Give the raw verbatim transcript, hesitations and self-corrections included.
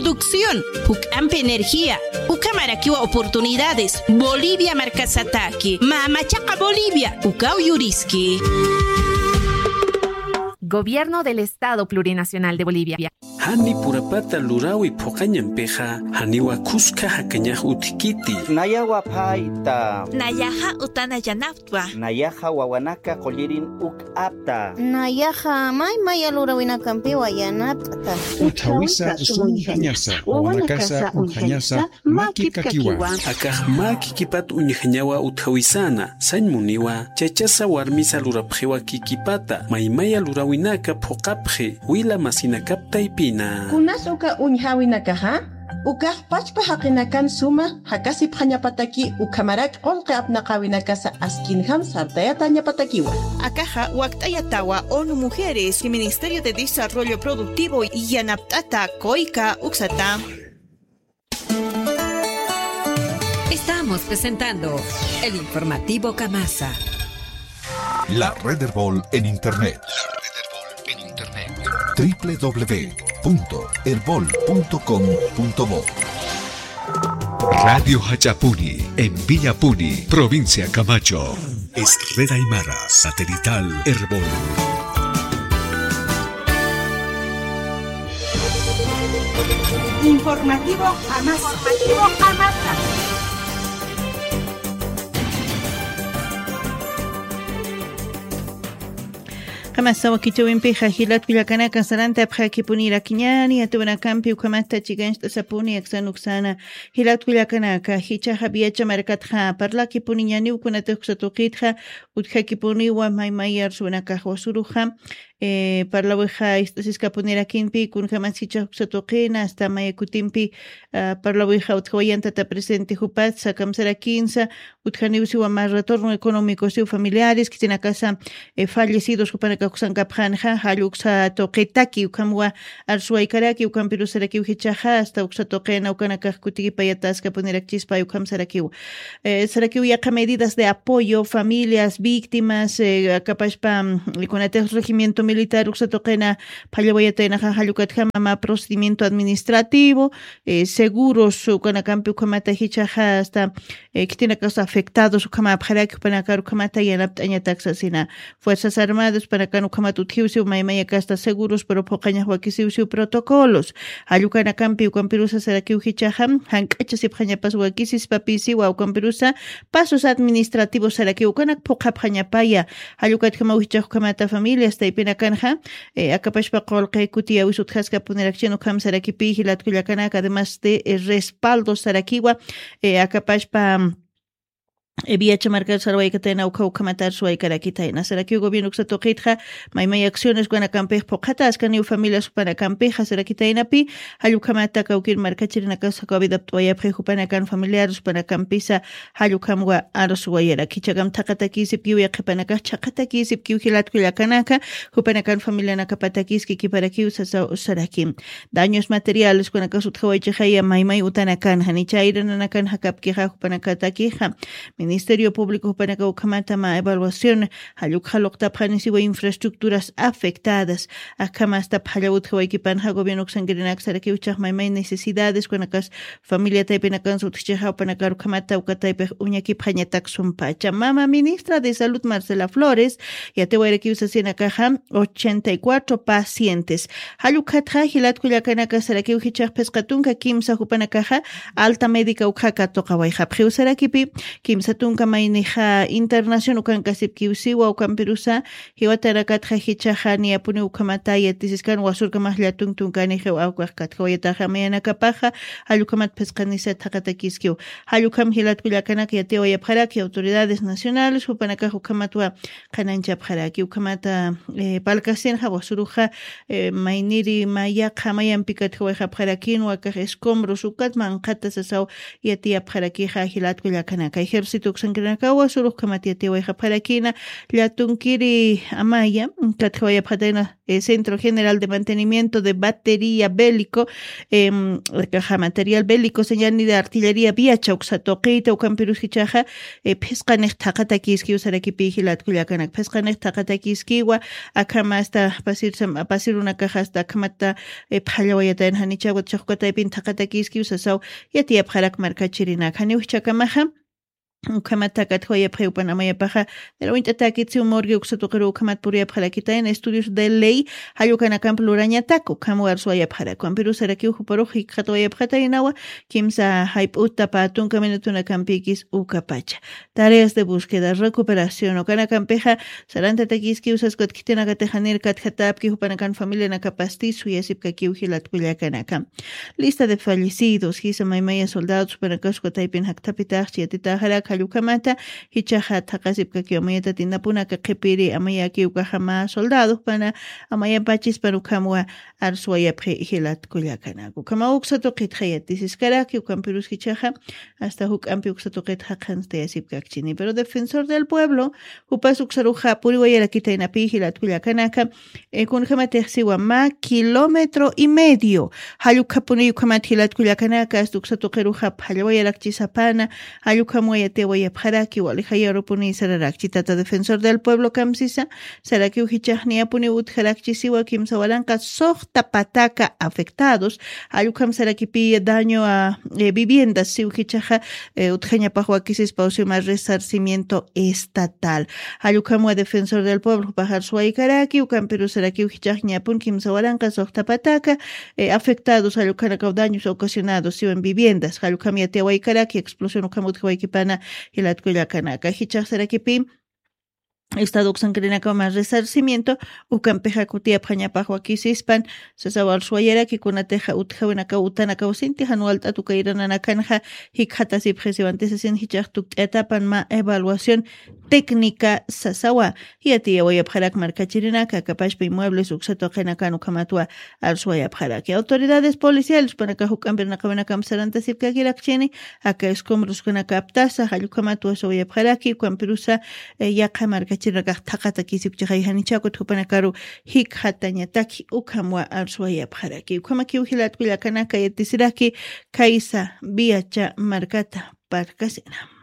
construcción, juk'ampi energía, ukhamarakiwa oportunidades, Bolivia markasataki, mamachaqa Bolivia, ukaw yuriski. Gobierno del Estado Plurinacional de Bolivia. Jani purapata lurawi phuqañampixa, janiwa khuska jakañax utjkiti. Nayawa phayta. Nayaxa utana yanaptwa. Nayaxa wawanaka qullirin uk'apta. Nayaxa may maya lurawinakampiwa yanapt'ta. Utjawisa uñjañasa, wawanakasa uñjañasa, mä kipkakiwa. Akax mä kikipat uñjañawa utjawisana, sañ muniwa, chachasa warmisa lurapxiwa kikipata, maymaya lurawinaka phuqapxi, wila masinakap taypina. Kunas uka uñjawinakaxa, ukax pachpa jaqinakan suma jakasipxañapataki ukhamarak qullqi apnaqäwinakasa askinjam sartayatañapatakiwa. Akaxa wakt'ayatawa ONU Mujeres y Ministerio de Desarrollo Productivo yanapt'ata COICA uksata. Estamos presentando el informativo Kamasa. La red Erbol en internet. La red Erbol en internet. W W W punto erbol punto com punto bo. Radio Jach'apuni, en Villapuni, provincia Camacho. Es Red Aymara Satelital Erbol. Informativo Kamasa. Informativo Kamasa. Kamasa wakichäwimpixa jilat kullakanaka sarantapxäkipunirakiñäni, yatiyäwinakampi ukhamata chikancht'asapuni aksan uksana. Jilat kullakanaka, jichhaxa Viacha markatxa parlakipuniñäniw kunatix uksa tuqitxa, utjakipuniwa maymay arsuwinakax wasuruxa, eh, parlawixa ist'asiskapunirakinpi, kunjamas jichhax uksa tuqina, hasta maya kutimpi, ah, parlawixa utjawayantata presente jupatsa, kamsarakinsa, utjaniw siwa mä retorno económico siw familiares, khitinakasa, eh, fallecidos jupanakax uksankapxänxa, jall uksa tuqitaki, ukhamwa arsuwaykaraki, ukampirus sarakiw jichhaxa, hasta uksa tuqina ukanakax kutikipayataskapunirakichispay ukham sarakiw. Eh, sarakiw yaqha medidas de apoyo, familias, víctimas, eh, akapashpa, mm, kunatix regimiento militar uksa tuqina phallawayataynaxa, jall ukatjama mä procedimiento administrativo, eh, seguros, ukanakampi ukhamata jichhaxa, hasta, eh, khitinakax afectados ukhamäpxaraki, jupanakar ukhamata yanapt'añatak sasina. Fuerzas Armadas panakan ukhamat utjiw siw maymayakasta seguros, pero phuqañax wakisiw siw protocolos. Jall ukanakampi ukampirusa sarakiw jichhaxa, jank'achasipxañapas wakisispapisiwa ukampirusa, pasos administrativos sarakiw ukanak phuqhapxañapaya. Jall ukatjamaw jichhax ukhamata familias taypinakanxa, eh, akapashpa qullqi kutiyäwis utjaskapunirakchin ukham sarakipi jilat kullakanaka, además de, eh, respaldo sarakiwa, eh, akapashpa, eh, Viacha markar sarwaykatayna ukha ukhamata arsuwaykarakitayna. Sarakiw gobierno uksa tuqitxa, maymay acciones ukanakampix phuqhataskaniw familias jupanakampixa sarakitaynapi, jall ukhamata kawkir markachirinakas jakaw vida apt'awayapxi jupanakan familiares jupanakampisa, jall ukhamwa arsuwayaraki. Jichhakam thaqatakisipkiw yaqhipanakax, chhaqatakisipkiw jilat kullakanaka, jupanakan familianakapatakiski kiparakiw sasaw saraki. Daños materiales ukanakas utjawaychixaya maymay utanakan, janicha ayrananakan jakapkixa jupanakatakixa. Ministerio Público jupanaka ukhamata mä evaluación, jall ukxa luqtapxani siwa infraestructuras afectadas. Akham hasta phallaw utjawaykipanxa gobierno uksankirinak sarakiw jichhax maymay necesidades ukanakas familia taypinakansa utjchixa jupanakar ukhamata uka taypix uñakipxañatak sumpacha. Mama ministra de Salud Marcela Flores, yatiyawayarakiw sasinakaxa, ochenta y cuatro pacientes. Jall ukhatxa jilat kullakanaka sarakiw jichhax phisqa tunka kimsa jupanakaxa alta médica ukxa katuqawayxapxiw sarakipi, kimsa tunka maynixa internación ukankasipkiw siwa ukampirusa, jiwatanakatxa jichhaxa niyapuniw ukhamata yatisiskan wasurkamax llatun tunkanixiw awkax katjawayataxa mayanakapaxa, jall ukhamat phisqanisa thaqatakiskiw. Jall ukham jilat kullakanaka yatiyawayapxaraki autoridades nacionales, jupanakax ukhamatwa qhananchapxaraki, ukhamata, eh, palkasinxa wasuruxa, eh, mayniri mayaqha mayampi katjawayxapxarakin, wakax escombros ukat manqhata sasaw yatiyapxarakixa jilat kullakanaka. Ejército uksankirinakawa surux khamat yatiwayxapxarakina. Llatunkiri amaya katjawayapxatayna, eh, Centro General de Mantenimiento de Batería Bélico, em, kaja material bélico, señal ni de artillería viacha uksa tuqita ukampirus jichaxa, eh, phisqanix thaqatakiskiw sarakipi jilatkullakanak, phisqanix thaqatakiskiwa. Akhama asta pasirunakaxa asta akhamata, eh, phallawayatayan janichawat chaqkataypin thaqatakiskiw sasaw. Yatiyapxarak markachirinak janiw jichakamaxa ukhamat thakatjwayapxi upan amayapaxa. Nilawint'atakit siw morgue uksa tuqiru ukhamat puriyapxarakitayna estudios de ley jallukanakamp lurañatak ukham warsuwayapxarak ukampirus sarakiw juparux jikxatwayapxataynawa. Kimsa jayp'uta patunka minutunakampikis ukapacha tareas de búsqueda recuperación ukanakampixa sarantatakiskiw saskwat khitinakatixanir katjatapki jupanakan familianakapasti suyasipkakiw jilatkullakanaka. Lista de fallecidos jisa maymaya soldados jupanakaskwataypin jaktapitaxchi yatitaxarak jallukhamata. Jichaxa thaqasipkakiw amayatatin napunaka qhipiri amayakiw kajama soldados pana amayapachis pana ukhamwa arsuwayapxi jilatkullakanaka ukhama uksa tuqitxa yatisiskaraki ukampirus jichaxa asta juk'ampi uksa tuqitxa qhanstayasipkakchini pero defensor del pueblo jupas uksaruxa puriwayarakitaynapi jilatkullakanaka. Kunjamatixsiwa mä kilómetro y medio jallukapuni ukhamat jilatkullakanaka asta uksa tuqiruxa phallawayarakchisapana. Jallukhamwayatiwayapxaraki walijayarupuni sararakchi tata defensor del pueblo kamsisa sarakiw jichaxniyapuni utjarakchisiwa kimsa waranqa suxta pataka afectados. Jallukam sarakipi daño a viviendas siw jichaxa utjañapaxwakisispaw sima resarcimiento estatal. Jallukhamwa defensor del pueblo pajarsuwaykaraki ukampirusarakiw jichaxñapun kimsa waranqa suxta pataka afectados jallukhanakaw daños ocasionados siwan viviendas jallukham yatiwaykaraki explosión ukham utjawaykipana. Jilatkullakanaka jichaxsarakipi estado uksankirinakaw mas resarcimiento ukampixa kutiyapxañapax wakisispan. Sasawarsuwayaraki kunatixa utjawinakaw utanakaw sinti jan walt'at ukayrananakanxa jikxatasipxisiwantisasin jichax tukt'atapan mä evaluación técnica sasawa. Yatiyawayapxarak markachirinaka akapashpa inmuebles uksa tuqinakan ukhamatwa arsuwayapxaraki autoridades policiales panakax uk'ampirnaqawinakamp sarantasipkakirakchini. Aka escombroskunakaptasa jallukhamatwa suwayapxaraki ukhampirusa yaqa markachirinakax thaqatakisipchixay janichakut jupanakaru jikxatañataki ukhamwa arsuwayapxaraki ukhamakiw jilatkullakanaka yatisiraki. Khaysa viacha markata parkasina.